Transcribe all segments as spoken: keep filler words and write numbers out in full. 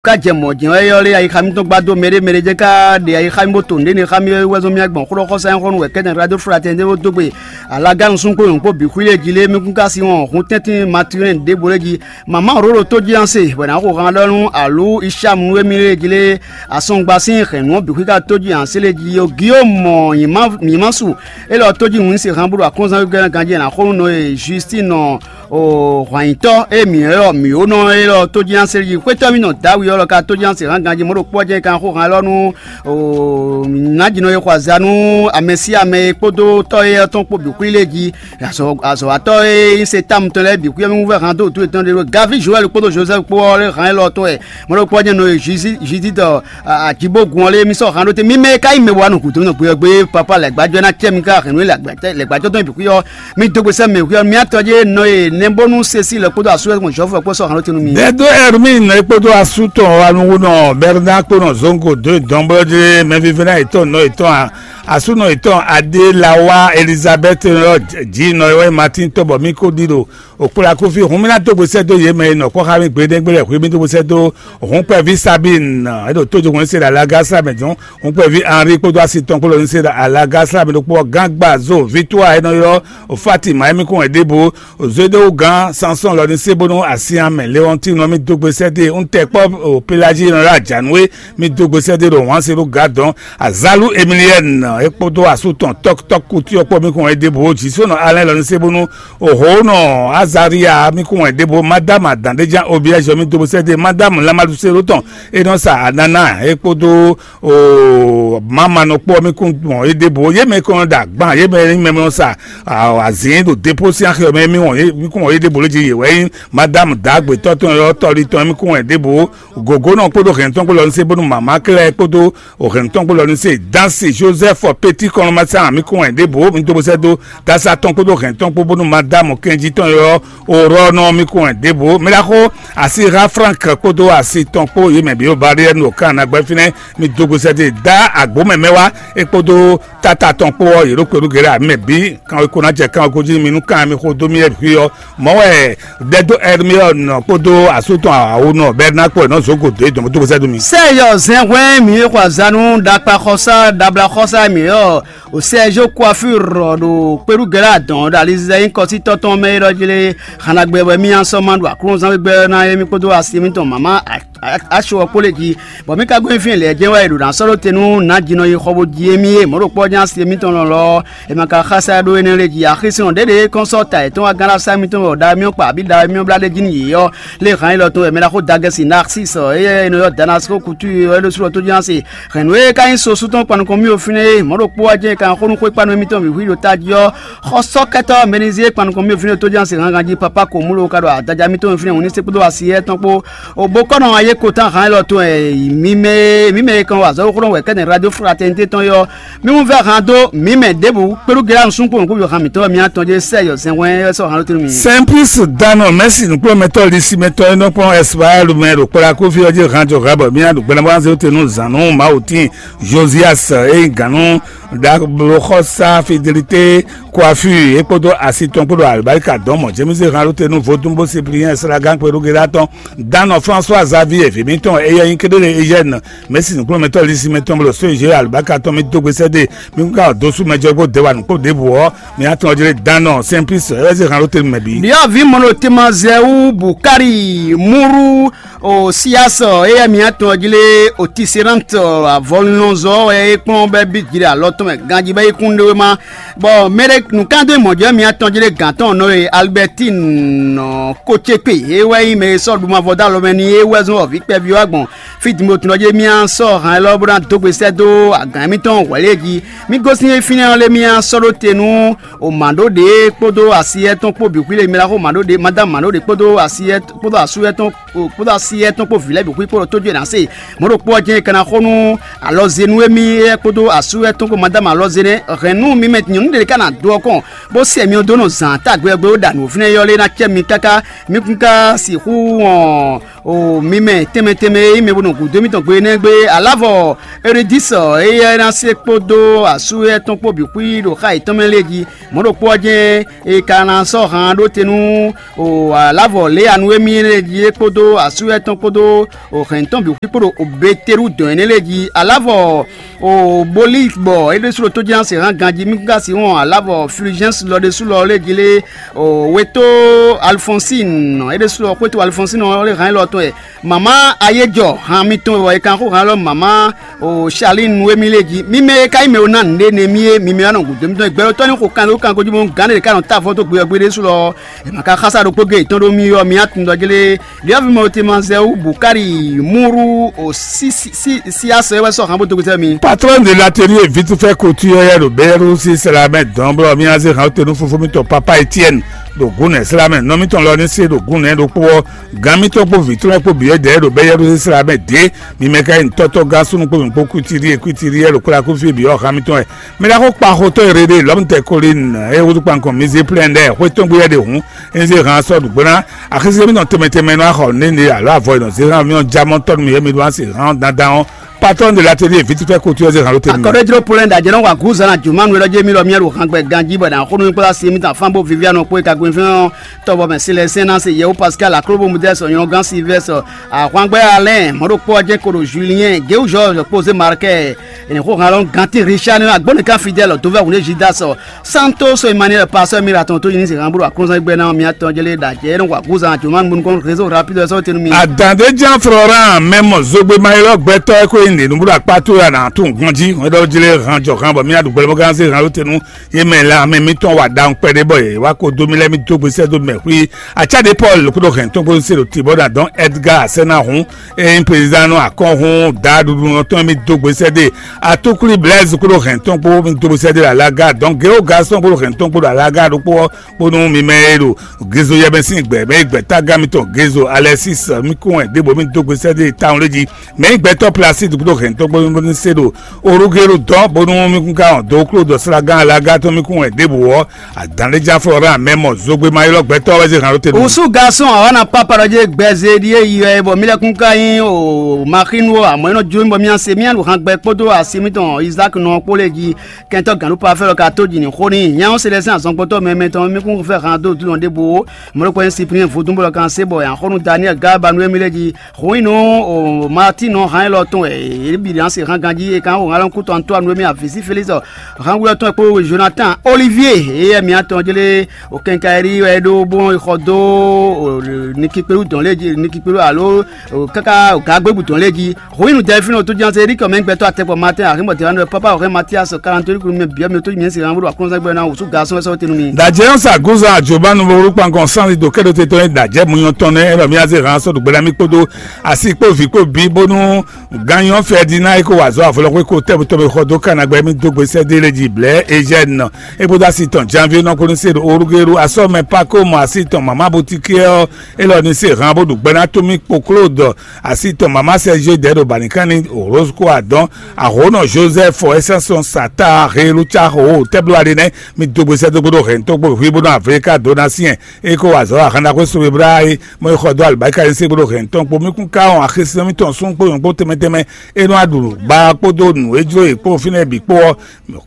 Ká jɛ mɔ̌ jɛ́n wɛ yɔ́ lé ayixa mitɔn gbá dó mɛɖé mɛɖé jɛ́n ká ɖe ayixa mì bó to nǔɖé ní xá mì é wɛ zɔ́n mì agbɔ̌n xó ɖɔ xɔ́sá nyí xó nú wɛ kɛ́tɛn radio fraternité bó dó gbe alagánu súnkpó nyɔ̌nkpó bǐ xwí lé jí lé mì kún ká sin wɔn hun tɛ́ntin Matilɛn ɖěbǔ lé jí. Mama Rolo tó jí an se bɔ è nǎ xo han ɖɔ nú alǔ Isham nú émí lé jí lé asɔngba sín hɛ̌nnu ɔ́ bǐ xwí ká tó jí an se lé jí ó Giyómɔ nyǐma su élɔ́ tó jí wǐn se han bó ɖo aklúnzán gɛ́ ganjí è nǎ xo nú nɔ e Justín nɔ o hwanyitɔ́ e mǐ ylɔ́ mǐ ó nɔ élɔ́ tó jí ná seli jí xwétɔ́ mì nɔ Dawǐ ɔ́ lɔ ka tó jí ná se hán ganjí mɔ̌ ɖokpó ɔ́ jɛ́n kan xó han élɔ́ nú nǎjínɔ e xɔ azǎn nú amɛ sín amɛ e kpódó tɔ́ éyɛ́ tɔn kpó bǐ xwlí lé jí. Azɔ̌watɔ́ e nyí Setámu tɔn lɛ́ɛ bǐ xwíyɔ́ mì wú vɛ́ han dó wǔtu yětɔn ɖé ɖó Gaví Joɛ́li kpódó Jozɛ́fu kpó ɔ́ lé han élɔ́ tɔn wɛ. Mɔ̌ ɖokpó ɔ́ jɛ́n nɔ e Judíi tɔ Ajibógun ɔ́ lé mì sɔ́ han ɖó te. Mi mɛ e ka nyí mɛ wa nɔ gǔdo nɔ gbeyɔ́ gbé papa lɛ̌gbájɔ ná cɛ mi ká hɛ̌nnu e lɛ̌gbájɔ tɔn bǐ xwí ɔ́, mi dó gbe sɛ́ mɛ xwí ɔ́, mi atɔn jɛ́n nɔ e nɛbónú se sí lɛ̌ kpódó asú wɛ gbɔn Jɔ́fu wɛ kpó sɔ́ han ɖó te nú mi. Dɛdó Ɛrmín ɔ́ kpódó asú tɔn Anuwunɔ Bɛrná kpó nɔ Zongo dó dɔnblɔ́ jlé mɛvívɛ́ná yětɔn nɔ yětɔn asúnɔ yětɔn Adélawa Elizabɛ́ti ɔ́ jí nɔ e wɛ Matín tɔn bɔ mí kó ɖi ɖo Okplakúví hun mì ná dó gbe sɛ́ dó yě mɛ e nɔ kpɔ́ xá mì gbeɖégbé lɛ́ɛ hwǐ mì dó gbe sɛ́ dó hǔnkpɛví Sabín e ɖo tójúhún se ɖo alagása mɛ dɔn hǔnkpɛví Anri kpódó así tɔn kpó lɔ ní se ɖo alagása mɛ ɖokpó ɔ́ gán gba zo vítúwa e nɔ ylɔ́ Fatima émí kún wɛ ɖěbǔ Zédéwu gán Sansɔ́n lɔ ní se bónú asyán mɛ Lewɔntínu ɔ́ mì dó gbe sɛ́ dó e un tɛ kpɔ́ Pelají e nɔ ylɔ́ Ajanúwe mì dó gbe sɛ́ dó e ɖo wǎn se ɖó gǎ dɔn Azalú Emiliɛ́ni é kpódó asú tɔn tɔ́kútɔ́kú kutu ɔ́ kpó mì kún wɛ ɖěbǔ Jisónɔ Alɛ́n lɔ ní se bónú Oho nɔ Azaria mi kún wɛn ɖěvo Madámu adǎn ɖé ján Obiɛ́zɔ mi dó bó sɛ́ dó Madámu Lamadusélo tɔn e nɔ sa Anana é kpódó Mamanɔ kpó ɔ́ mi kún wɔn yé ɖěvo yé mɛ kɔn ɖo agban yé mɛ nyí mɛ nɔ sa azǐn ɖo dépó sín axi ɔ́ mɛ mi wɔn yé mi kún wɔn yé ɖěvo lé jí yě wɛ nyí Madámu dǎgbetɔ́ tɔn ɔ́ tɔ́lí tɔn mi kún wɛn ɖěvo gǒgónɔ kpódó hɛ̌ntɔn kpó lɔ ní se bónú mama klɛ́ kpódó o hɛn tɔn kpó lɔ ní se dansi Joseph Petit kɔnɔmasa mi kún wɛ ɖěbǔ mi dó bó sɛ́ dó dasa tɔn kpódó hɛn tɔn kpó bónú Madamu kɛnjí tɔn ylɔ́ Orɔnɔ mi kún wɛ ɖěbǔ mi ɖaxó asi ha Frank kpódó asi tɔn kpó yě mɛ bǐ barrière no kan nagbɛ fínɛ́ mi dó gbe sɛ́ dó dá agbǒ mɛ mɛ wá é kpódó tata tɔn kpó ɔ́ yě ɖo kpɛɖú gěɖé amɛ bǐ kan ko ná jɛ kan ko jí mi nú kan mi xo dó mi yɛ hui ɔ́ mɔ̌ wɛ Dɛdó Ɛrmiɔ́ɔnɔ kpódó asú tɔn awǒnɔ Bɛrnákpɔ nɔ zǒ gǒ dó é dɔn bó dó bó sɛ́ dó mi. Sɛ́yɔ zɛnhwɛ́n mǐ e xɔ azǎn nú ɖakpaxɔsá ɖablaxɔsá mǐ ɔ́, Sɛ́zó Kuafúrɔ ɖo kpéɖúgɛ́ lɛ́ɛ adɔn ɖo alizizɛ nyíkɔ sín tɔ́ tɔn mɛ élɔ́ jí lé, han ɖagbe wɛ mì nǎ sɔ́ ma ɖo aklúnɔzán gbígbɛ́ ɔ́ ná émí kpódó asi mitɔn mǎmá aco ɔ́ kpó lě jí, bɔ mǐ ka gɔ́ nyi fínɛ́ lɛ̌ jɛ́n wɛ è ɖo nǎ sɔ́ ɖó te nú nǎjínɔ yi xɔ bó jí émí e mɔ̌ ɖo kpɔ́ jɛ́n asi mitɔn lɔlɔ́ ɔ́, è ma ka xá sá ɖó énɛ́ lɛ́ɛ jí. Axi sɔ́ ɖěɖě kɔn sɔ́ ta yětɔn wá gán ɖo asá mitɔn wɛ ɖa émí ɔ́ kpa abǐ ɖa émí ɔ́ blá ɖ'é jí nú yě ɔ́, lě hǎn élɔ́ tɔn wɛ mɛ ɖaxó Dagɛsi Narcísɔ éyɛ́ è nɔ ylɔ́ Danasikó kútu é ɖó sú ɔ́ tó jí ná se. Hɛ̌nnu e ka nyí sosú tɔn kpan nukɔn mì fínɛ́ é, mɔ̌ ɖokpó ɔ́ jɛ́n è ka xó nú xwé kpanu émítɔn wǐwlí ɖo tají ɔ́, xɔsɔ́kɛ́tɔ́ Mɛnizée kpan nukɔn mì fínɛ́ tó jí ná se hǎnhǎn jí papá ko mú ló ka ɖo adaja mitɔn fínɛ́ hǔn ní se kpódó asi éyɛ́ tɔn kpó. O bó kɔ́ nɔ ayé ko tán hǎn élɔ́ tɔn e mǐ mɛ mǐ mɛ e kan wa azɔ̌ xóxó wɛ kɛ́nɛ́ radio fraternité tɔn é ɔ́, mí wún vɛ́ han dó mǐ mɛ ɖěbǔ kpéɖú Geyá nusúnnu kpó nǔkúnví han mǐtɔn mì atɔn jɛ́n sɛ yɔ zɛnhwɛ́n wɛ sɔ́ han ɖó tɛ́nú mì. Sɛnplis Danɔ Mɛsi nǔkplɔ́nmɛtɔ́ ɖisímɛtɔ́ e nɔ kplɔ́n Ɛsipayálu mɛ ɖo kplɔ́ Akófí ɔ́ jí han jɔ hwɛ bɔ mì nǎ ɖo gbɛɖe bó ná zé te nú zǎn nú Mawu tíin Joziyas e nyí gǎn nú ɖabloxɔsá Fidelité Kuafí é kpódó asi tɔn kpó ɖo alibáríka dɔn mɔ̌ jɛ́mísé han ɖó te nú vodún bó Sipliyɛ́n Slagán kpéɖú Geyá tɔn Danɔ François Xavier vǐ mǐtɔn éyɛ́ nyí kéɖélé Eugène Mɛ̌si nǔkplɔ́nmɛtɔ́ Lisímɛ tɔn bó ɖo só Ezéwe alubáka tɔn mì dó gbe sɛ́ dó e mì kún ka wɔ dó sú mɛjɔgbó dɛwanu kpó ɖěbǔ ɔ́, mǐ atɔn ɔ́ jlé dán nɔ Sɛnpísi ɔ́ é wɛ zé han ɖó te nú mɛ bǐ. Ɖyɔ̌vǐ mɔnɔtemazɛwú Bukari Múru Osiyasɔ éyɛ́ mǐ atɔn ɔ́ jlé Otiserante avɔlɔnzɔ wɛ é kplɔ́n bɔ é bí jǐ ɖo alɔ tɔn mɛ ganjí bɔ é kún ɖó é má. Bɔ mɛ ɖé nǔkandó mɔ̌ jɛ mǐ atɔn jlé gǎn tɔn nɔ e Alibɛtín nɔ Kocékpe é wɛ nyí mɛ e sɔ́ ɖu mavɔ dó alɔ mɛ n'i é wɛ zɔ́n wɔ vǐ kpɛví ɔ́ gbɔn fí din bo tunɔ jí mì sɔ́ han élɔ́ bó ná dó gbe sɛ́ dó agǎn émítɔn hwɛ̌ lě jí. Mì gosín fínɛ́ ɔ́ lé mì sɔ́ ɖó te nú o mǎɖó ɖě kpódó asi étɔn kpó bǐ xwí lé mì ɖaxó mǎɖó ɖě Madámu mǎɖó ɖě kpódó asi étɔn kpódó asú étɔn kpódó asi étɔn kpó vǐ lɛ́ɛ bǐ xwí kpódó tójú e ná se. Mɔ̌ ɖokpó ɔ́ jɛ́n è ka ná xo nú alɔzenu émí éyɛ́ kpódó asú étɔn kpó Dama lɔ zé nɛ́, hɛ̌nnu mi mɛ nyɔ̌nu ɖé ka ná dó ɔ́ kɔn, bó sɛ mi ɔ́ dó nɔ zǎn tagbe ɔ́ gbe, bó ɖa nǔ fínɛ́ yɔ́ lé ná cɛ mi káká. Mi kún ka sixú wɔn o mi mɛ tɛnmɛ tɛnmɛ e nyí mɛ bo nɔ gǔdo émítɔn gbe énɛ́ gbe. Alavɔ Eridisɔ, éyɛ́ ná se kpódó asú éyɛ́ tɔn kpó bǐ xwí ɖo xá yětɔn mɛ lé jí. Mɔ̌ ɖokpó ɔ́ jɛ́n è ka ná sɔ́ han ɖó te nú o alavɔ Leanu émí lé jí é kpódó asú éyɛ́ tɔn kpódó o hɛ̌n tɔn bǐ xwí kpó ɖo Beteludɔn énɛ́ lé jí. Alavɔ o Bolíi bɔ é ɖésú ɖo tójínásɛhán ganjí mí ka sin wɔn alavɔ Fulgence lɔ ɖésú lɔ lé jí lé, o wetó Alfonsín é ɖésú lɔ xwétó Alfonsín ɔ́ lé hán élɔ́ tɔn wɛ. Mama ayéjɔ han mitɔn wɛ è kan xó hán élɔ́ mama o Charlene Nuwémi lé jí. Mi mɛ e ka nyí mɛ e ná nǔɖé nɛ mì é, mi mɛ wá nɔ gǔdo mitɔn gbɛɖotɔ́ ní xo kanlé kangojú mɔ gǎn ɖé ka nɔ ta avɔ dó gbe ɔ́ gbe ɖésú lɔ. È ma ka xásá ɖokpó gé yětɔn ɖó mì ɔ́, mi atundɔjlé. Ɖiɔ́vimɔ Temazɛwu Bukari Muru o si si si si asɔ é wɛ sɔ han bó dó gbézɛ mi. Patron de l'atelier Vitufɛ Couture yɛ ɖo Bɛyɛɖusi Slamɛ dɔn blɔ mí azé han te nú fofó mitɔn Papa Etienne ɖo gǔnɛ Slamɛ nɔ mitɔn lɔ ní se ɖo gǔnɛ ɖokpó ɔ́, gǎn mitɔn kpó vǐ tɔn kpó bǐ wɛ dɛ̌ ɖo Bɛyɛɖusi Slamɛ dě. Mi mɛ ka nyí tɔ́tɔ́ gán súnnu kpó mǐ kpó kwítíɖíe kwítíɖíe ɖo kplákúfí bǐ ɔ́, han mitɔn wɛ. Mɛ ɖaxó kpáxotɔ́ e Rede lɔmutɛkolin e wútu kpankɔn Mizé Plɛ́n lɛ́ɛ xwé tɔn gbé wɛ ɖe hǔn, é zé han sɔ́ nǔgbó ná. Axézé mitɔn tɛnmɛ tɛnmɛ nɔ axɔ nɛ́ alo avɔ e nɔ zé han mì ɔ́ já mɔ tɔ́ nú mì e mi ɖó asi han dandan ɔ́. Patɔ́n de l'atelier vǐtúfɛ́ ko cyɔ zé han ló tɛ́ nú mì. Akɔɖéjló Polɛ́n ɖo ajɛ nɔ wa gǔzan ná jǔmánú élɔ́ jɛ mì lɔ mì ɖo hangbɛ ganjí bɔ è nǎ xo nú mì kpó asi mitɔn afán bó viví anɔ kpó e ka gbɛnfɛn ɔ́. Tɔ́vɔmɛ Silɛsɛn ná se Yɛwu Pascal Aklóbomudɛ́ sɔ nyɔ́gán Silvɛ́sɔ Ahwangbɛ́ Alɛ́n mɔ̌ ɖokpó ɔ́ jɛ́n ko ɖo Juliɛn Géwu Jɔ́ɔ́zɔ kpó zé Markɛ. È nǐ xo han lɔn gantín Richard nɛ́ agbɔ́nɛkan Fidɛ́l dɔ̌vɛ́ hun ɖé Jidas Santó so Emmanuel Pasɔ Mira tɔn tó yi ní zǐhan bó ɖo aklúnzán gbɛ́ ná mía tɔn jlé ɖo ajɛ é nɔ wa gǔzan jǒmanu nukɔn réseau rapide ɔ́ sɔ́ tɛnu mi. Adǎndéjan Florent mɛ mɔ zogbe mayɔ́ gbɛtɔ́ e ko nyí nǐnúbúɖo akpá towe a nǎ tunwun ganjí hwɛɖɔ́ jlé han jɔ han bɔ mía ɖu gbɛlɛmɔgán zé han ló tenu. Yé mɛ lɛ amɛ mitɔn wa ɖawun kpɛɖé bɔ yě wá ko dó mì lɛ́ mì dó gbe sɛ́ dó mɛ xwí. Atsá ɖé Paul kúɖo hɛn tɔn kpó se ɖo tǐ bɔ ná dɔn Edgar Asɛnahun e nyí prezidán nɔ akɔ́nhún daɖuɖunɔ tɔn mì dó gbe sɛ́ dó. Atukli Blaise kúɖo hɛn tɔn kpó mì dó gbe sɛ́ dó alaga dɔn Geo Gaston kúɖo hɛn tɔn kpó ɖo alaga ɖokpó ɔ́ kpónú mi mɛ e ɖo Gezo yɛmɛ sín gbɛ mɛ e gbɛ́ tágán mitɔn Gezo Alexis mi kún wɛ ɖěbǔ mi dó gbe sɛ́ dó tawun lé jí. Mɛ e gbɛtɔ́ Placide kúɖo hɛn tɔn kpó mì se ɖo Orugelu dɔn bónú mi kún ka wɔn dó kló dɔ slágán alaga tɔn mi kún wɛ ɖěbǔ ɔ́, Adǎnléjá Florent mɛ mɔ zogbe ma ylɔ́ gbɛtɔ́ wɛ zé hǎn ɖó te nú. Osu garçon awana papa ɖɔ jɛ gbɛzɛ ɖi e yi wɛ bɔ mi lɛ kún ka nyi o maxinu o amɔ enɔ jlo mi bɔ mi ase mi anu han gbɛ kpódó asi mitɔn Isaac nɔ kpó lɛ ji kɛntɔ gǎnɖu pa fɛ lɔ ka tó ji ni xó ni nya se lɛ sɛn azɔngbɔtɔ mɛ mɛ tɔn mi kún fɛ han dó dulɔ ɖe bo mɔlɔkɔ nyi Cyprien vodun bɔ lɔ kan se bɔ yan xɔnu Daniel Galba nu emi lɛ ji xó nyi nú o Martin nɔ han elɔ tɔn wɛ e bi dan se han ganji e kan o ŋalɔn kutɔ Antoine wɛ mi avisi Félix Hangwlɛ́tɔn kpó Jonathan Olivier, eyɛ mǐtɔn jlé o kɛnkayiɖi wɛ é ɖó bó xɔ dó o nikikpelu dɔn lé jí nikikpelu alo o káká o gǎgbébu dɔn lé jí. Hwenu Dɛlfino tó ján se Erikɔ mɛ gbɛtɔ́ atɛkpɔ Martin Arimɔtɛwanu wɛ Papa Oxɛ Matias Kalantori kunu mɛ biɔ mi tó nyɛ se Hangwlɛ́ wa kɔnzan gbɛ na wosú gasɔn wɛ sɔ́ tenu mi. Dajɛ sa guza jobanu bo wúrú kpankɔn sanzi do kɛɖo te tɔn dajɛ munyɔ tɔn nɛ ɛlɔ mi aze hàn sɔdù gbɛlami kpódó asi kpó vi kpó bi bónú Ganyɔ Ferdinand e ko wa azɔ̌ avɔlɔxwé ko tɛ́butɔ́ mɛ xɔ dó Kanagbɛ mì dó gbe sɛ́ dó lé jí blɛ̌ Eugène é kpódó asi tɔn Janvier nɔ kpódó se ɖo Orugelu asɔ́ mɛ Pako mɔ asi tɔn mama Botikɛ ɔ́, élɔ́ ní se hàn bó ɖu gbɛ́ ná tó mì kpo Claude asi tɔn mama Sergio dɛ̌ ɖo bǎnikanni Rose kó adɔn ahǒnɔ Joseph Essence Sata Helu Caho tɛ́bló aɖe nɛ́ mì dó gbe sɛ́ dó gbódó hɛ̌ntɔ́ gbó hwí bónú Afrika dó ná syɛn é kó wa azɔ̌ ahan ɖaxó Sobebla é mɔ é xɔ dó alibáríka e se kpódó hɛn tɔn kpó mì kún ká wɔn axisínɔ mítɔn sún kpó nyɔ̌ kpó tɛnmɛ tɛnmɛ é nɔ aɖu ba kpódó nǔ e jló yě kpó fínɛ́ bǐ kpó ɔ́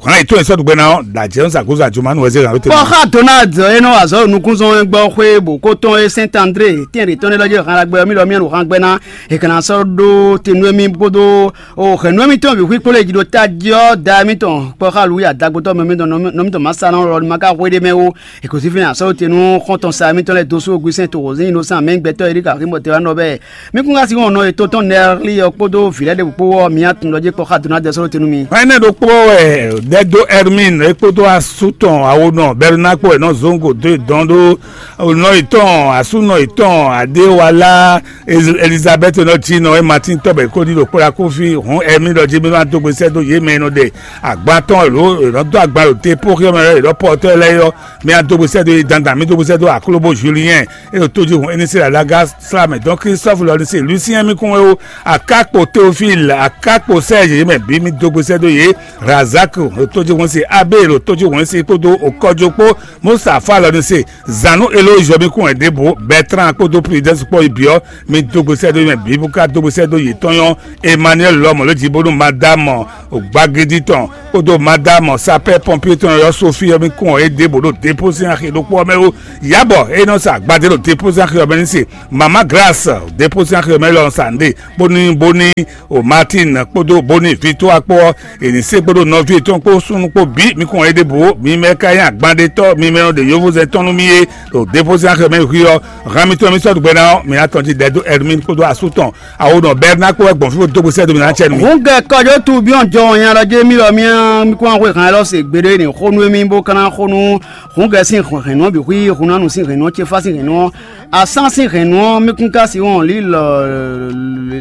hàn yě tó yě sɔ́ ɖu gbɛ ná ɔ́ ɖa jɛ ń zǎgúzú àjùmá nú wɛ zé hàn ló tɛnmɛ. Kpɔ́ xá Donald é nɔ wa azɔ̌ nukúnzɔ́ gbɔ xwé bǒ kó tɔn é Sɛ́nt André tɛ́nɖě tɔn lɛ́ lɔ jɛ hàn ɖagbe ɔ́ mì lɔ mì ɛnu hàn gbɛ ná è kàn ná sɔ́ ɖó te nú émí kpódó o hɛ̌nnu émítɔn bǐ xwí kpó lě jí ɖo tají ɔ́ da émítɔn kpɔ́ xá Luwi adagbotɔ́ mɛ mítɔn nɔ mítɔn má sa nɔ lɔ ní ma ka hwé ɖé mɛ ó. È kǒ sí fínɛ́ asɔ́ te nú xɔ́ntɔn sa émítɔn lɛ́ɛ dó sú Ogwisɛ́n to Hozín Inocent mɛ gbɛtɔ́ Erika Rimɔtɛwa nɔ bɛɛ. Mi kún ka sí wɔn nɔ yětɔn tɔn Nɛɛli ɔ́ kpódó vǐ lɛ́ɛ ɖěbǔ kpó ɔ́, mi ná tunwun ɖɔ jé kpɔ́ xá Donald sɔ́ te nú mi. Ɛnɛ ɖokpó wɛ ɖɛdó Hermine é kpódó asú tɔn awonɔ Bɛrina kpó wɛ nɔ zɔn go dó dɔn ɖó nɔ yětɔn asúnɔ yětɔn Adéwalá Elizabeth nɔ jí nɔ é Martin tɔbɛ kó ní ɖo kplá kó fí hɔn Hermine ɖɔ jí mi má dó gbe sɛ́ dó yě mɛ e nɔ ɖe agban tɔn lǒ è nɔ dó agban ɖo te pó xyɔ́mɛ lɛ́ɛ è nɔ pɔtɔ́ lɛ́ɛ yɔ mi adó gbe sɛ́ dó yě dandan mi dó gbe sɛ́ dó Aklobo Julien e ɖo tójú hɔn Enisela Laga Slamɛ dɔn Christophe lɔ ní se Lucien mi kún wɛ ó akákpo Théophile Akakpo sɛ yě mɛ bǐ mi dó gbe sɛ́ dó yě. Razak ɖo tójúhún se, Abel ɖo tójúhún se kpódó Okɔjo kpó, Mustafa lɔ ní se. Zanu Eloyi mi kún wɛ ɖěbǔ, Bertrand kpódó Prudence kpó yi bǐ ɔ́, mi dó gbe sɛ́ dó yě mɛ bǐ bó ká dó gbe sɛ́ dó yětɔn nyɔ́. Emmanuel lɔ mɔ̌ lé jí bónú Madame Gbagidi tɔn kpódó Madame sapeur pompier tɔn ɔ́, Sophie ɔ́ mi kún wɛ é ɖěbǔ ɖo dépôt sín axi ɖokpó ɔ́ mɛ ó. Yabɔ é nɔ sa agbadé ɖo dépôt sín axi ɔ́ mɛ ní se. Mama Grace dépôt sín axi ɔ́ mɛ lɔ sa nǔɖé bónú bónú o Martin kpódó bónú Victoire kpó ɔ́, è nǐ se kpódó nɔví yětɔn kpó súnnu kpó bǐ mi kún wɛ é ɖěbǔ ó. Mi mɛ ka nyí agbanɖétɔ́, mi mɛ nɔ ɖe yovózɛn tɔn nú mì é ɖo dépôt sín axi ɔ́ mɛ xwí ɔ́. Han mitɔn mi sɔ́ ɖu gbɛ ná ɔ́, mi ná tɔn jí ɖɛ dó Hermine kpódó asú tɔn. Awo nɔ Bernard kpó wɛ gbɔn fí bó dó gbe sɛ́ dó mi ná cɛ nú mi. Hǔn gɛ́ kɔjó tu byɔ́n jɔ nya ɖɔ jé mì lɔ mía mi kún axwe han élɔ́ se gbeɖé ní xó nú émí bó ka ná xó nú hǔn gɛ́ sín hɛ̌nnu ɔ́ bǐ xwí hunnánu sín hɛ̌nnu ɔ́, cefá sín hɛ̌nnu ɔ́, asán sín hɛ̌nnu ɔ́, mí kún ka sí wɔn lǐlɔ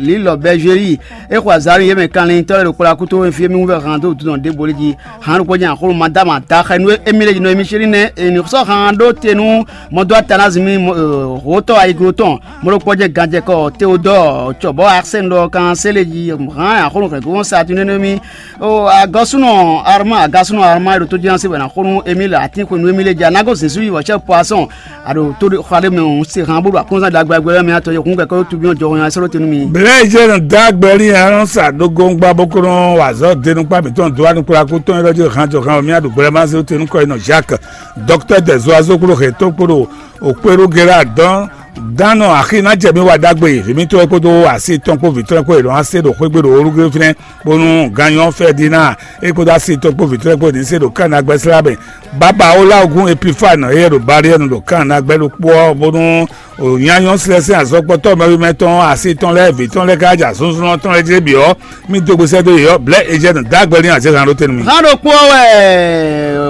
lǐlɔ bɛ́zwéli é xo azǎn nú yě mɛ kanlin tɔ́ lɛ́ɛ ɖo kplɔ́ akúto e fí émí wú vɛ́ han dó wǔtu tɔn ɖěbǔ lé jí. Hǎn ɖokpó jɛ́n axɔ́ nú Madáma Taxɛnu émí lé jí nɔ émí chéɖí nɛ́ è nǐ sɔ́ han ɖó te nú mɔdó Atanazimi hǒtɔ́ ayiglo tɔn, mɔ̌ ɖokpó jɛ́n ganjɛkɔ Teodɔ́ɔ cɔ̌bɔ́ Arsɛ́n ɖɔ kan sélé jí hǎn axɔ́ nú hɛ̌ngbɔ́n Satunɛ́ nú émí. Ó, agɔ́súnɔ Arma, agásúnɔ Arma e ɖo tójínɔ́sí wɛ ná xo nú émí le atínxwenu émí lé jí, a nǎ gosín sú yi wɔ̌xɔ́ Poisson, a ɖo tó xɔ ɖé mɛ hǔn se han bó ɖo akɔ́nzán ɖagbe agbe lɛ́ɛ mɛ atɔn yɔkun kɛkɛ ɖó tubyɔ́ jɔhɔn nya sɔ́ ɖó te nú mi. Blɛ̌ jɛ nɔ dó agbɛ lí nya nɔ sa ɖó góngba bó kó nɔ wa azɔ̌ denukpá mǐtɔn dó anukplaku tɔn élɔ́ jí han jɔ han mì aɖu gbɛlɛ ma zé te nú kɔ yi nɔ Jacques, docteur des oiseaux kpó ɖo hɛ̌tó kpó ɖo Okpéɖu Gérard dɔn dán nɔ axi ná jɛ mì wa ɖagbe vǐ mítɔn e kpódó asi tɔn kpó vǐ tɔn e kpó è nɔ wá se ɖo xwé gbe ɖo Olúgbé fínɛ́, bónú ganyɔ Fɛdina é kpódó asi tɔn kpó vǐ tɔn e kpó ní se ɖo Kana gbɛ́slá mɛ. Baba Olaogun Epifane éyɛ́ ɖo Baliɛnu ɖo Kana gbɛ́ ɖokpó ɔ́, bónú nyanyɔ slɛ́sɛn azɔkpɔ́tɔ́ mɛwimɛ tɔn asi tɔn lɛ́ɛ vǐ tɔn lɛ́ɛ ká ja zunzun tɔn lɛ́ɛ jí bǐ ɔ́, mì dó gbe sɛ́ dó yě ɔ́, blɛ̌ Ezyɛ́nu dó agbɛ́ n'i azɛ̌ han ɖó te nú mì. Hán ɖokpó ɔ́ wɛ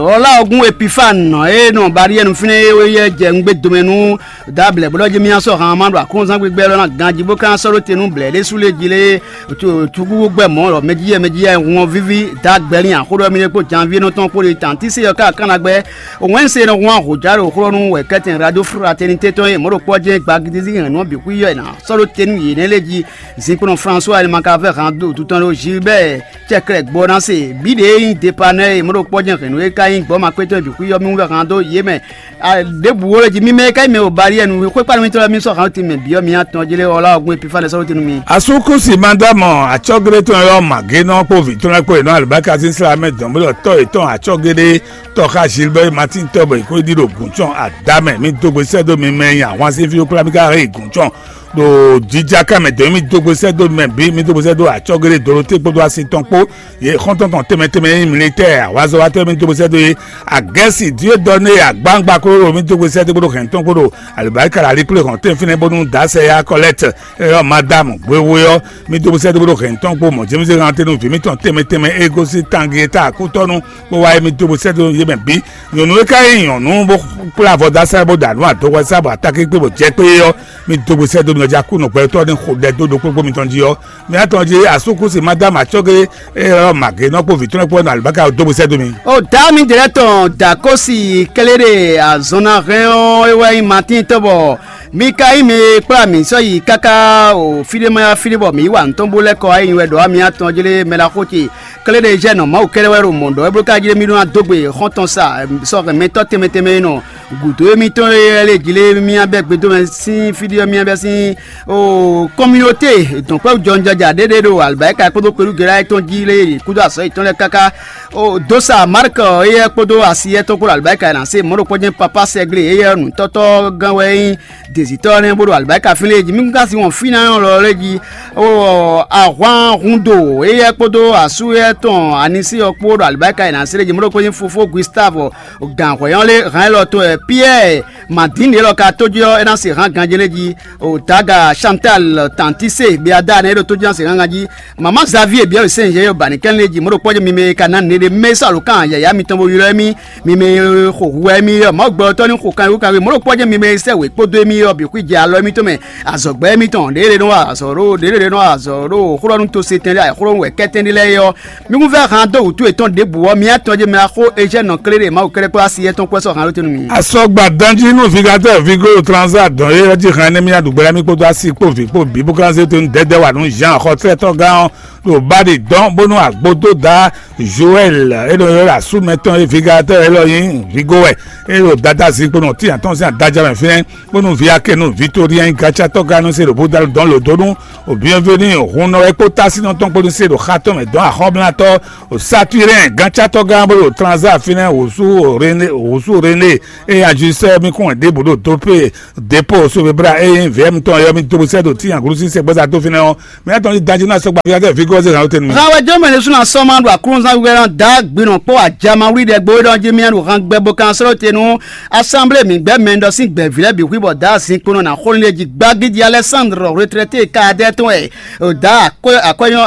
Olaogun Epifane e nɔ Baliɛnu fínɛ́ é wɛ jɛ nǔgbé domɛ nú Dablɛ bó ɖɔ jí mì sɔ́ han ma ɖo aklúnɔzán gbígbɛ́ lɔ ná ganjí bó ka sɔ́ ɖó te nú blɛ̌ ɖésú lé jí lé. Cúkúkú gbɛ mɔ̌ lɔ mɛjíyɛ mɛjíyɛ hun ɔ́ víví. Dagbɛlin axó ɖɔ mì ɖe kpó janví nɔ tɔn kpó ɖe tantí se ɔ́ ká kan ná gbɛ́. Wɛn se nɔ hun ahǒjá ɖo xlɔ́ nú wɛ kɛ́tɛn radio fraternité tɔn e mɔ̌ ɖo kpɔ́ jɛ́n gbagidízí hɛn nǔ ɔ́ bǐ xwí yɔ è nǎ sɔ́ ɖó te nú yě nɛ́ lé jí. Zinkpɔ́nɔ François Elimaka vɛ́ han dó wǔtu tɔn ɖó Gilbert cɛkrɛ gbɔ ná se bǐ ɖě nyí depanɛ́ e mɔ̌ ɖo kpɔ́ jɛ́n hɛ̌nnu e ka nyí gbɔ́ makpétɔn bǐ xwí yɔ mí wú vɛ́ han dó yě mɛ. Ɖěbǔ wo lé jí mímɛ́ ká yi mɛ o Baliɛnu xwé kpánu mitɔn lɛ́ɛ mì sɔ́ han tin mɛ bǐ ɔ́ mi atɔn jí lé ɔ́ lá ɔ́ gbɔn Epifane sɔ́ tɛ́nú mi. Asúkúsi Madámɔ acɔ́géɖé tɔn e ɔ́ mǎgénɔ kpó vǐ tɔn lɛ́ɛ kpó è nɔ alibáka sín slá mɛ dɔn bó ɖɔ tɔ́ yětɔn acɔ́géɖé tɔ́ xá Gilbert Martin tɔ́ bɔ è ko ɖi ɖo gǔncɔn adá mɛ. Mi dó gbe sɛ́ dó mi mɛ nyi ahwan sín fí wú kplá mi ka hɛn yi gǔncɔn ɖo jija ká mɛ dɔn mi dó gbe sɛ́ dó mɛ bǐ mi dó gbe sɛ́ dó acɔ́géɖé Doroté kpódó asi tɔn kpó yě xɔ́ntɔn tɔn tɛnmɛ tɛnmɛ e nyí militɛ́ɛ ahwazɔ́watɔ́ mi dó gbe sɛ́ dó yě. Agɛ́si Dieu donné agbáŋgba kpódó mi dó gbe sɛ́ dó kpódó hɛn tɔn kpódó alibáríkà la líkplé hɔn tɛ́nfínɛ́ bónú dǎsɛ ya kɔlɛ́tɛ ɛ ɔ́ Madámu hwehwe ɔ́, mi dó gbe sɛ́ dó kpódó hɛn tɔn kpó mɔ̌ jɛ́mísɛ́ hantenu vǐ mitɔn tɛnmɛ tɛnmɛ e gosín tangin e ta akútɔ́nu kpó wá é mi dó gbe sɛ́ dó yé mɛ bǐ. Nyɔ̌nu e ka nyí nyɔ̌nu bó kplá avɔ dó asá bó ɖa nǔ adɔhwɛsá bɔ atakínkpé bɔ jɛ kpé é ɔ́, mi dó gbe sɛ́ dó mi nɔ jí akú nɔgbɛtɔ́ ní xo ɖɛ dó ɖokpó kpó mitɔn jí ɔ́, mi atɔn jí asúkúsi Madámu acɔ́gé e ɔ́ mǎgé nɔ kpó vǐ tɔn kpó nɔ alibáka dó gbe sɛ́ dó mi. O dǎ mi dě lɛ́ɛ tɔn dǎ kósi kléɖe azɔn ná hɛn ɔ́ é wɛ nyí Matín tɔn bɔ mi ka nyí mɛ e kplá mǐ sɔ́ yi káká o fí ɖé ma yá fí ɖé bɔ mǐ yi wa nǔ tɔn bó lɛ́ kɔ wá yi wɛ ɖɔ wá mi atɔn jlé mɛ ɖaxó ce. Kléɖe jɛ nɔ Mawu kɛ́ɖɛ́ wɛ ɖo mɔ̌ ɖɔ é bló ka jlé mì ɖó ná dó gbe xɔ́ntɔn sa sɔ́ hɛn mɛtɔ́ tɛnmɛ tɛnmɛ e nɔ gǔdo émítɔn e lɛ́ jlé mì abɛ gbedomɛ sín fí ɖé ɔ́ mì abɛ sín o kɔmyɔte dɔ̌nkpɛ́wú jɔnjɔja ɖé ɖé ɖo alibáyíka kpódó kpelúgela tɔn jí lé kúdó azɔ̌ yětɔn lɛ́ɛ káká. O dó sa Mark éyɛ́ kpódó asi yɛ́ tɔn kpó ɖo alibáyíka ná se mɔ̌ ɖokpó jɛ́n papá sɛgblé éyɛ́ nǔtɔ́tɔ́ gán wɛ nyí dezitɔ́ nɛ́ bó ɖo alibáyíka fínlé jí mí kún ka sin wɔn fínánɔ lɔ lé jí. O ahwan hundo éyɛ́ kpódó asú éyɛ́ tɔn anisí ɔ́ kpó ɖo alibáyíka yě ná se lé jí mɔ̌ ɖokpó nyí fofó Gustave gǎnhwɛ́ ɔ́ lé hǎn élɔ́ tɔn wɛ Piyɛ́ɛ Madín ɖě lɔ ka tójí ɔ́ é ná se hǎn ganjí lé jí. O Daga Chantal Tantise Beada nɛ́ é ɖo tójí ná se hǎn ganjí. Mama Xavier biɔ sɛn yɛ yɔ bani kɛn le ji mo ɖo kpɔjɛ mi me ka na ne ɖe mɛ sa lo kan yaya mi tɔn bo ylɔ mi mi me xo hu wɛ mi yɔ ma gbɔ tɔ ni xo kan yo kan mo ɖo kpɔjɛ mi me sɛ we kpodo mi yɔ bi xui jɛ alɔ mi tɔn mɛ azɔgbɛ mi tɔn ɖe ɖe nɔ azɔ ɖo ɖe ɖe nɔ azɔ ɖo xlɔ nu to se tɛn ɖe xlɔ wɛ kɛtɛn ɖe lɛ yɔ mi kun fɛ han do wutu etɔn ɖe bu wɔ mi atɔn je mɛ axo ejɛ nɔ kle ɖe ma wo kɛlɛ kpɔ asi etɔn kpɔ sɔ han lo tenu mi. Sɔgba danjí nú vigatɔ́ vigo transa dɔn e ɔ́ jí hɛn nɛ́ mì aɖugbɛ́ mì kpódó asi kpó vǐ kpó bǐ bó ka zé tonú dɛdɛ wà nú Jean xɔtlɛ́tɔ́gán ɔ́ ɖo baɖi dɔn bónú agbódó da Joel e ɖo ylɔ́ asú mɛtɔn e vigatɔ́ élɔ́ nyí vigo wɛ e ɖo dada zinkpo nɔ tíyàn tɔn sín adájá mɛ fínɛ́ bónú vǐ Akenu Victorien gatsatɔ́gán nú se ɖo bódalú dɔn lǒ dó nú Bienvenu hunnɔ wɛ kpó tásínɔ tɔn kpó nú se ɖo xá tɔn mɛ dɔn axɔ́mlátɔ́ Saturɛn gancátɔ́gán bó ɖo Tranza fínɛ́ wǔsú René wǔsú René e ajusɛ mì kún wɛ ɖěbǔ ɖo dópe dépó sovebra e nyí vɛ̌m tɔn yɔ mì dó sɛ́ ɖo tíyanglu sín sɛgbɛ́zá dó fínɛ́ ɔ́, mì tɔn ɖi danjí ná sɔgba fífá tɛ fígó ɔ́ zé hǎn tɛnu mì. Hán wɛ jɔmɛ ɖésú ná sɔ́ ma ɖo aklúnɔzán wíwɛ́ ná dǎ gbinɔ kpó ajamawlí ɖɛ gbó ɖɔ jí mì ɖo han gbɛ bó kan srɔ́ te nú assemblée mǐgbɛ́ mɛ ɖɔ sín gbɛ̌ví lɛ́ɛ bǐ xwí bɔ dǎ zinkpo nɔ ná xó nú lé jí gbágídí Alexandre retraité kadɛ tɔn wɛ dǎ akwɛ́ akwɛ́nyɔ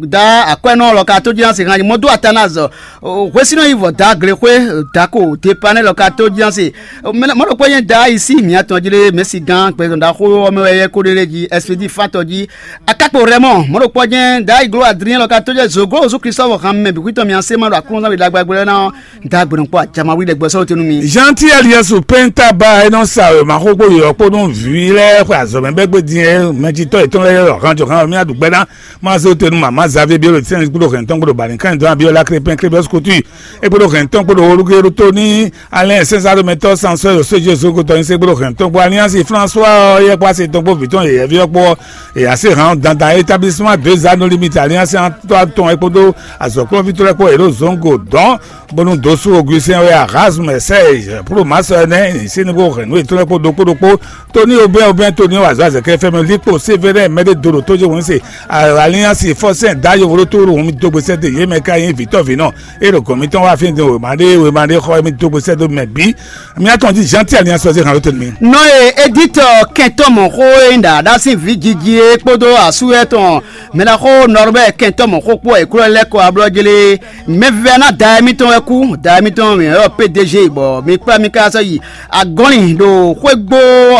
dǎ akwɛ́nɔ lɔ ka tó jí ná se hán mɔ dó Atanaze hwesínɔ yi vɔ dǎ glexwé dǎko Depanɛ lɔ ka tó jí ná se mɔɖokpɔ nyɛ dǎ yi sí mǐ atɔn jí ɖé mɛ̌si gán gbɛzɔn ɖaxó ɔ́ mɛ wɛ yɛ kó ɖé lé jí Ɛspedi fátɔ jí akákpo Rɛmɔ mɔɖokpɔ nyɛ dǎ yi gló Adrien lɔ ka tó jɛ zǒgó Jezu Kristu vɔ hán mɛ bǐ xwítɔn mǐ asé ma ɖo aklúnɔzán ɖagbagbɛ ná dǎ gbɛ̌nɔkpɔ ajamawí ɖɛ gbɛsɔ́ tenu mi. Jean Tiel Yesu penta ba e nɔ sa wěma xó kpó yɔ̌yɔ́ kpó nú vǐ lɛ́ɛ xwe azɔ̌ mɛ bɛ́ gbé din e mɛjitɔ́ yětɔn lɛ́ɛ ɖɔ hánjɔhán ɔ́ mì aɖu gbɛ́ ná má zé te nú mama Xavier Biolo Tɛ́nɛn kpódó hɛn tɔn kpódó Balinkan dɔn Abiɔla Krépin Krébɛ́s Kutu é kpódó hɛn tɔn kpódó Olugero tó ní Alɛn Sɛnzaro mɛtɔ́ Sansɔ́ Yosé Jesu kótɔ nyi sé kpódó hɛn tɔn kpó Alliance François ɔ́ yɛ kpó así tɔn kpó vǐ tɔn yɛyɛví ɔ́ kpó ɔ́ è yá sé hàn dandan établissement deux anneaux limite Alliance tɔn ɛ kpódó azɔ̌kplɔ́nví tɔn lɛ́ɛ kpó è ɖo zɔ̌ngo dɔn bónú dǒsú Augustin wɛ Erasme Serge Plomasse nɛ́ sín ní kó hɛn nǔ yětɔn lɛ́ɛ kpó ɖokpó ɖokpó Tony Aubin Aubin Tony wazɔ azɛkɛ fɛmɛ likpo sévérin mɛɖé dó ɖo tójó wǒn se Alliance fɔsɛn dá yovóɖótó ɖo hǔn mi dó gbèsè dó yě mɛ ká nyí vǐtɔ́ vǐnɔ é ɖo gɔ̌n mitɔn wá fín din wěma ɖé wěma ɖé xɔ mi dó gbèsè dó mɛ bǐ mi atɔn jí Jean Tiel ní asɔzé hàn ló tɛnu mi. Nɔ e Editɔ kɛntɔ́ mɔ̌ xó e nyí ɖaɖa sín vǐ jiji é kpódó asú etɔn mɛɖaxó Nɔrbɛ́ɛ kɛntɔ́ mɔ̌ xó kpó è klɔ́ lɛ́ kɔ ablɔ́ jlé mɛvívɛ́ná da émítɔn wɛ kú da émítɔn mǐ ylɔ́ P D G bɔ mi kplá mi ká sɔ́ yi agɔ́nlin ɖo xwégbó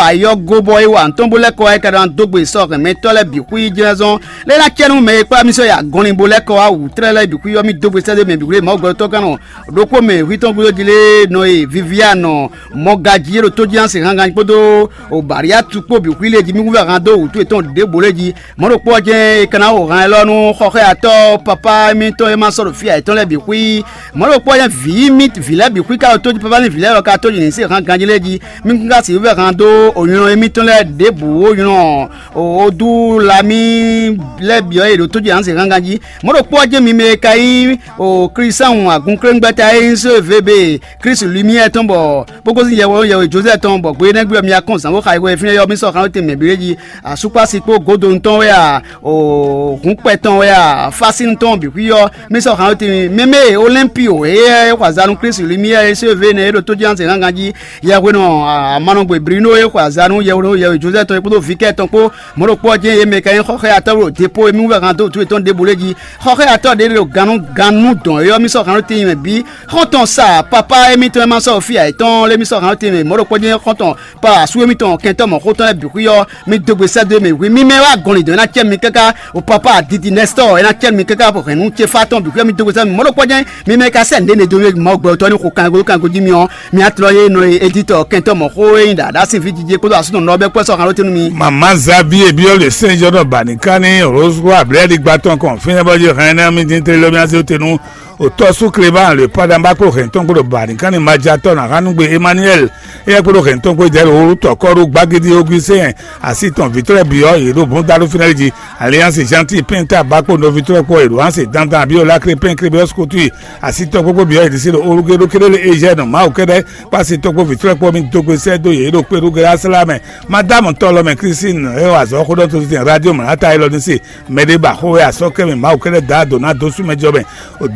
ayɔ́gó bɔ é wa nǔtɔn bó lɛ́ kɔ wá é ka ná dó gbe sɔ́ hɛn mɛtɔ́ lɛ́ɛ bǐ xwí jlɛ́zɔn lé ná cɛ nú mɛ e kplá mì sɔ́ yi agɔnlin bó lɛ́ kɔ wá wǔ tlɛ́ lɛ́ɛ bǐ xwí ɔ́ mì dó gbe sɛ́ dó mɛ bǐ xwí Mawu gbɛtɔ́ gán nɔ ɖokpó mɛ hwítɔn gúdo jí lé nɔ e Viviane mɔgají e ɖo tójíhánse hángan kpódó Bariatu kpó bǐ xwí lé jí mì húnvɛ han dó wǔtu yětɔn ɖěbǔ lé jí mɔ̌ ɖokpó ɔ́ jɛ́n è ka ná xo han élɔ́ nú xɔxɔ́yatɔ́ papá émítɔn e ma sɔ́ ɖo fí ǎ yětɔn lɛ́ɛ bǐ xwí mɔ̌ ɖokpó ɔ́ jɛ́n vǐ mì vǐ lɛ́ɛ bǐ xwí ka ɖo tójí papá ní vǐ lɛ́ɛ lɔ ka tójí ní se hán ganjí lé jí mì kún ka sixú vɛ han dó onylɔ́ émítɔn lɛ́ɛ ɖěbǔ onylɔ́ Odúlamí lɛ́ɛ bǐ ɔ́ e ɖo tójí hán se hán ganjí mɔ̌ ɖokpó ɔ́ jɛ́n mi mɛ e ka nyí Klísáhùn agǔnkléngbɛ́ta e nyí Zóevebe Klísu Limiyɛ́ɛ tɔn bɔ bó gosín yɛhweɖónú yɛhwe Jozɛ́ɛ tɔn bɔ gbe énɛ́ gbe ɔ́ mi wá kɔn zǎngbó xayixɔyɛ fínɛ́ ɔ́ mì sɔ́ xan nú tɛnmɛ bǐ lé jí asúkpási kpó godonu tɔn wɛ a, hǔnkpɛ tɔn wɛ a, fásín tɔn bǐ xwí ɔ́ mì sɔ́ xan nú tɛnmɛ mɛmɛ Olɛ́npio éyɛ́ é xɔ azǎn nú Klísu Limiyɛ́ɛ é sóvé nɛ é ɖo tójínásɛngángan jí yɛhwenɔ amanɔgbe Brino é xɔ azǎn nú yɛhweɖónú yɛhwe Jozɛ́ɛ tɔn é kpódó vǐ kɛ́ tɔn kpó mɔ̌ ɖokpó ɔ́ jɛ́n yě mɛ ka nyí xɔxɔ́yatɔ́ ɖo depo e mì wú vɛ han dó wǔtu yětɔn ɖěbǔ lé jí xɔxɔ́yatɔ́ ɖě ɖo gannú gannú dɔn é ɔ́ mì sɔ́ xan nú tɛnmɛ bǐ xɔ́ntɔn sa papá émítɔn e ma sɔ́ fí ayǐtɔn lé mì sɔ́ xan nú tɛnmɛ mɔ̌ ɖokpó jɛ́n xɔ́ntɔn pa asú émítɔn kɛntɔ́ mɔ̌xótɔn lɛ́ɛ bǐ xwí ɔ́ mì dó gbe sɛ́ dó mɛ hwi mì mɛ wá gɔn lǐndɔ̌n é ná cɛ mi káká o papa adidi nɛstɔ́ é ná cɛ mi káká bɔ hɛ̌nnu ce fá tɔn bǐ xwí ɔ́ mì dó gbe sɛ́ mi mɔ̌ ɖokpó jɛ́n mi mɛ ka sɛ́ nǔɖé ne dó mɛ Mawu gbɛ tɔn ní xo kan golo kan gojí mi ɔ́ mi atlɔ yé nɔ editɔ kɛntɔ́ mɔ̌xó e nyí ɖaɖa sín fí jijɛ kpódó asúnɔ nɔ bɛ kpɔ́ sɔ́ xan ló tɛ́ nú mi. Mama Xavier Biol Saint John Banikani Rose Ablɛ́ɖigba tɔn kɔn fínɛ́ bɔ yé hɛn ná mi dín tlélómíásí tenu Otɔ́ sú Clément le Padamba kpó hɛn tɔn kpó ɖo Banikani Majatɔ́ ná Hanugbe Emmanuel éyɛ́ kpó ɖo hɛn tɔn kpó jɛ ɖo tɔkɔ́ɖu gbagidi Augustin asi tɔn vǐtrɔ́ bǐ ɔ́ yě ɖo bɔ́n dá ɖó fínɛ́ jí Alliance Gentil Penta Bakpo nɔví trɔ́ kpó Edouance Dandan Abiola Crépin Crébéos Kotui asi tɔn kpókpó bǐ ɔ́ yě ɖisí ɖo Olugéɖo Kélélé Eugène Mawu kɛ́ɖɛ́ kpó asi tɔn kpó vǐtrɔ́ kpó mì dó gbe sɛ́ dó yě ɖo kpéɖu Glásla mɛ. Madame Tɔlɔmɛ Christine e wa azɔ̌ xó ɖɔ tó tɛn radio mlata élɔ́ ní se mɛ ɖé ba xó wɛ asɔ́ kɛ mɛ Mawu kɛ́ɖɛ́ da dǒ ná dó sú mɛ jɔ mɛ.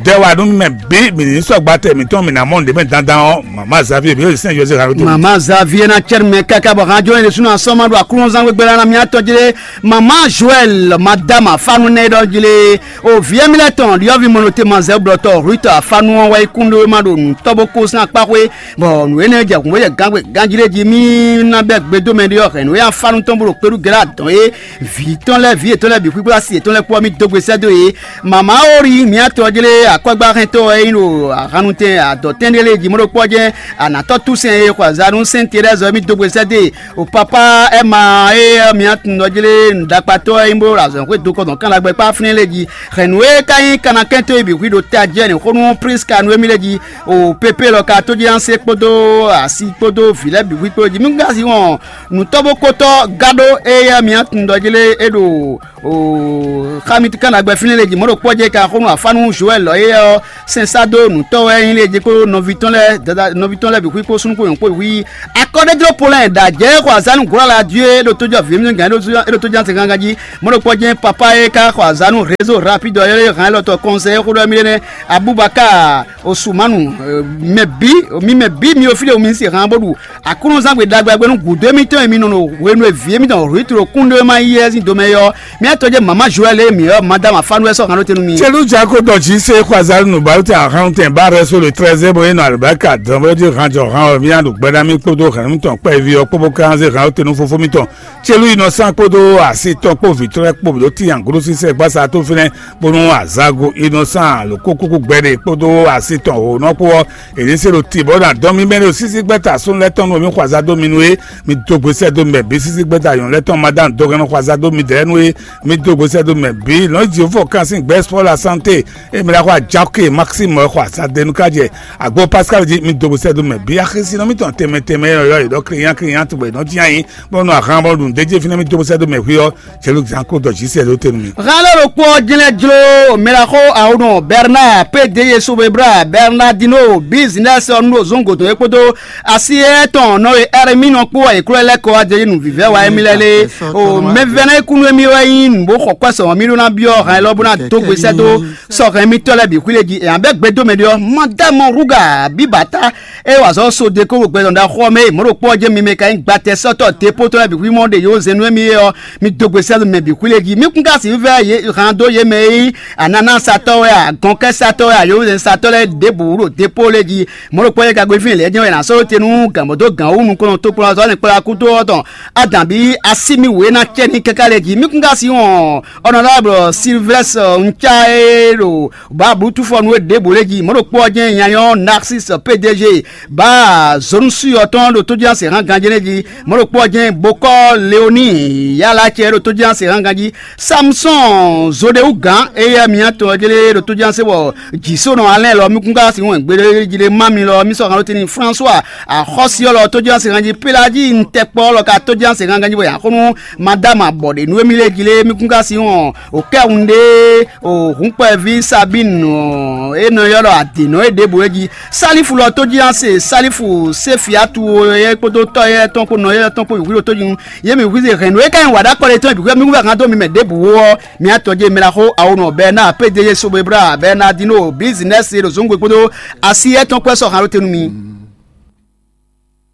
Dɛ wa nú mɛ bǐ mǐ ní sɔ́ gbatɛ mǐtɔn mǐ ná mɔ nǔɖé mɛ dandan ɔ́, mama Xavier bǐ sɛn José Harold. Mama Xavier ná cɛ́ mɛ káká bɔ hán jɔ́n ɖésú ná sɔ́ ma ɖo aklúnɔzán gbégbé ná mì atɔn jlé. Mama Joël madama fanu nɛ ɖɔ jlé. O vǐ émí lɛ́ɛ tɔn ɖyɔ́vǐ mɔnɔte mazɛ blɔtɔ Ruth afanu ɔ́ wá yi kún ɖó ma ɖo nǔtɔ́ bó kó sín akpáxwé bɔ nǔ énɛ́ jɛ hǔn bó jɛ gángbé ganjí ɖé jí mì ná bɛ́ E dó mɛ ɖé ɔ́, hɛ̌nnu e afánu tɔn bó ɖo kpéɖu gɛ́ ɖo adɔn é, vǐ tɔn lɛ́ɛ, vǐ yětɔn lɛ́ɛ bǐ kpíkpé, asi yětɔn lɛ́ɛ kpó ɔ́, mì dó gbe sɛ́ dó yě. Mama Ori, mǐ atɔ́ jlé akɔ́gbáhɛntɔ́ e nyí ɖo ahannutɛn adɔ̌tɛn ɖé lɛ́ɛ jí mɔ̌ ɖokpó ɔ́ jɛ́n anatɔ́ túsɛn e xɔ azǎn nú Sɛ́n Terɛ́zi ɔ́, mì dó gbe sɛ́ dó e. O papá Ɛma e mǐ atɔ́ jlé nǔɖakpatɔ́ e nyí bó ɖo azɔ̌xwé dokɔ́dɔn kánɖagbe kpá fínɛ́ lɛ́ɛ jí. Hɛ̌nnu e ka nyí kanakɛntɔ́ e bǐ hwí ɖo tají wɛ ní xó nú Priska nú émí lɛ́ɛ jí. O Pepe lɔ ka tójínasé kpódó asi kpódó vǐ lɛ́ɛ bǐ hwí kpó jí. Mí ka si wɔn nǔtɔ́ bó kótɔ́ gado e yɛ mǐ tunɖɔ jí lé é ɖo o xá mì kán ɖagbe fínɛ́ lé jí mɔ̌ ɖo kpɔ́ jɛ ka xó nú afánu Joɛl lɔ éyɛ́ ɔ́, sɛn sá dó nǔtɔ́ wɛ nyí lé jí kpó nɔví tɔn lɛ́ɛ dada nɔví tɔn lɛ́ɛ bǐ xwí kpó súnnu kpó nyɔ̌nu kpó bǐ xwí. Akɔ́ɖéjló Polɛ́ɛ ɖo ajɛ̌ xɔ azǎn nú Glɔ̌la Dieu e ɖo tójɔ vǐ mǐtɔn gǎn e ɖo tójɔ ase gangan jí. Mɔ̌ ɖo kpɔ́ jɛ́n papá e ka xɔ azǎn nú rézo rapide ɔ́ e hɛn élɔ́ tɔn kɔnsɛ e xó ɖɔ émí ɖe nɛ́, Abubakar Osumanu, mɛ bǐ mi mɛ bǐ mi o fí ɖe mi se han bó ɖu Aklúnɔzán gbe ɖagbe gbe nú gǔdo émítɔn e mi nɔ ɖo hwenu e vǐ émítɔn Rwitlo kún ɖó ma yi é sín domɛ é ɔ́, mía tɔ́ jɛ mama Joɛl e mǐ ɔ́, Madama Fanuwɛ́ sɔ́ han ɖó te nú mi. Celu Jako dɔ jí se xɔ azalinu balu te ahan tɛn ba rɛ so le trɛzɛ bɔ e nɔ alibaka dɔn bɔ e han jɔ han ɔ mía ɖo gbɛɖa mi kpódó hɛn mitɔn kpɛví ɔ́ kpó bó ká zé han te nú fofó mitɔn. Celu yi nɔ sán kpódó asi tɔn kpó vǐ tɔn lɛ́ɛ kpó bǐ ɖó tinyan gúdo sísɛ gbasa tó fínɛ́ bónú azago yi nɔ sán lǒ kúkúkú gbɛɖe kpódó asi tɔn hǒnɔ kpó ɔ́, è nǐ se ɖo ti bɔ ná dɔn mì mɛ ɖo sísí gbɛ́ta súnnu lɛ́ɛ tɔn nú mi xɔ azado mi nú é. Mi dó gbe sɛ́ dó mɛ bǐ sísí gbɛ́ta nyɔ̌nu lɛ́ɛ tɔn ma dá dɔgɛ́n nɔ xɔ azado mi dɛ̌ nú é. Mi dó gbe sɛ́ dó mɛ bǐ lɔ̌n Jihova kan sín gbɛ́ spɔ́ la sánté e mi ɖá xɔ ajakè Maxime xɔ azadenu ká jɛ agbo Pascal jí. Mi dó gbe sɛ́ dó mɛ bǐ axésínɔ mitɔn tɛnmɛ tɛnmɛ e yɔ yě ɖɔ Client Client bɔ è nɔ jí anyi bɔ nɔ ahan bɔ ɖu nǔ d'é jí fínɛ́ mi dó gbe sɛ́ dó mɛ hwí ɔ́. Celu zán kó dɔ jí sɛ ɖó te nú mi. Hɛn lɔ ɖokpó ɔ́ jlɛ́ jló mɛɖaxó awonɔ Bernard P D G Sobebra Bernardino Business ɔ́ nú ɖo zɔ́n gǒdɔn é kpódó asi étɔn nɔ e Ɛrɛmínɔ kpó wɛ è klɔ́ lɛ́ kɔ wá jɛ nǔvívɛ́ wa émí lɛ́ɛ lé. O mɛvɛ́ná e kú nú émí wɛ nyí nǔ bó xɔ kwɛ́ sɔmɔ̌ mì ɖó ná byɔ́ hɛn lɔ bó ná dó gbe sɛ́ dó sɔ́ hɛn émítɔ́ lɛ́ɛ bǐ xwí lé jí. Ɛ bɛ́ gbe dó mɛ ɖé ɔ́, Madame Ruga Bibata e wa azɔ̌ so de kó ɖo gbɛdɔn ɖaxó ɔ́ mɛ e mɔ̌ ɖokpó ɔ́ jɛ mi mɛ ka nyí gbatɛsɔ́tɔ́ Depótɔ́ lɛ́ɛ bǐ xwí mɔ ɖe yě wǒ zɛ nú émí é ɔ́, mi dó gbe sɛ́ mɛ bǐ xwí lé jí. Mi kún ka sixú vɛ́ yě han dó yě mɛ e nyí ananásatɔ́ wɛ a, gɔnkɛ́satɔ́ wɛ a, yǒzɛ́nsatɔ́ lɛ́ɛ ɖěbǔ ɖo depóo lɛ́ɛ jí. Mɔ̌ ɖokpó lɛ́ɛ ka gbe fínɛ́ lɛ̌ jɛ́n wɛ è nǎ sɔ́ ɖó te nú gǎnmɔ̌dó gǎn wú nukɔn tokpɔnɔ ɔ́ nɛ́ kplá kúdó ɔ́ tɔn. Adǎn bí así mì wě ná cɛ ní káká lɛ́ɛ jí. Mi kún ka si wɔn ɔnɔdáblɔ Silvɛ́s Nca e ɖo bǎ blútúfɔnu e ɖěbǔ lɛ́ɛ jí. Mɔ̌ ɖokpó ɔ́ jɛ́n nyanyɔ́ Narcisse P D G bá Zonusu ɔ́ tɔn ɖo tójínásɛ hán ganjɛ́nɛ́ jí. Mɔ̌ ɖokpó ɔ́ jɛ́n bokɔ́ Leoní yálá cɛ ɖo tójínásɛ hán ganjí. Samsɔ́ɔn Zoɖewúgǎn éyɛ́ mǐtɔn ɔ́ jlé ɖo tójínásɛ bɔ jǐsónɔ alɛ́n lɔ mí kún ká sin wɛn gbeɖé jí lé má mi lɔ mí sɔ́ han ɖó tɛ́ntin François axɔ́sí ɔ́ lɔ tójínásɛ ganjí Pélají ntɛkpɔ́ lɔ ka tójínásɛ hán ganjí bɔ yǎ xó nú Madama bɔ ɖě nú émí lé jí lé mí kún ká sin wɔn o kɛ́hun ɖé o hǔnkpɛví Sabínu e nɔ ylɔ́ ɖɔ adǐnɔ é ɖěbǔ é jí. Sálífu lɔ tó jí ná se Sálífu Séfiatu é kpódó tɔ́ éyɛ́ tɔn kpó nɔ éyɛ́ tɔn kpó bǐ xwíɖó tó jí nú yě mǐ hwíze hɛ̌nnu e ka nyí wǎɖákpɔ́ ɖé tɔn bǐ xwíɖó mí kún vɛ́ han dó mi mɛ ɖěbǔ ó ɔ́, mǐ atɔ́ jé mɛ ná xó awonɔ Bɛɛnáa Pédéyé Sobebra Bɛɛnadíno Bizinɛ́si ɖo zǒngbe kpódó así éyɛ́ tɔn kpó sɔ́ han ɖó te nú mi.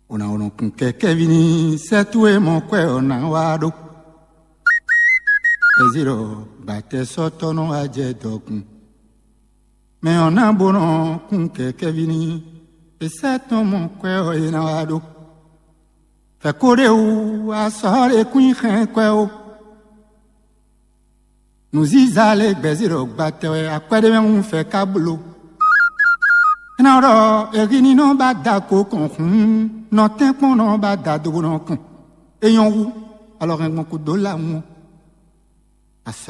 Unawunu kun kɛkɛvi ni sɛtu e mɔ kwɛ ɔ na wa ɖo. Eziro gbatɛ sɔtɔ nɔ wa jɛ dɔkun. Mɛ ɔ na bo nɔ kun kɛkɛvi ni esɛ tɔn mɔ kwɛ ɔ e na wa ɖo. Fɛ ko ɖe wu asɔ ɖe kun xɛn kwɛ o. Nǔziza lé gbɛ̌zí ɖɔ gbatɛ wɛ akwɛ́ɖémɛhún fɛ ká bló. É ná ɖɔ ehininɔ ba da ko kɔn hǔn, nɔtɛ́nkpɔ́nnɔ ba da dogbonɔ kɔn. É nyɔ́ hú, alɔ hɛn gbɔn kúdó lawun ɔ́. Asɔ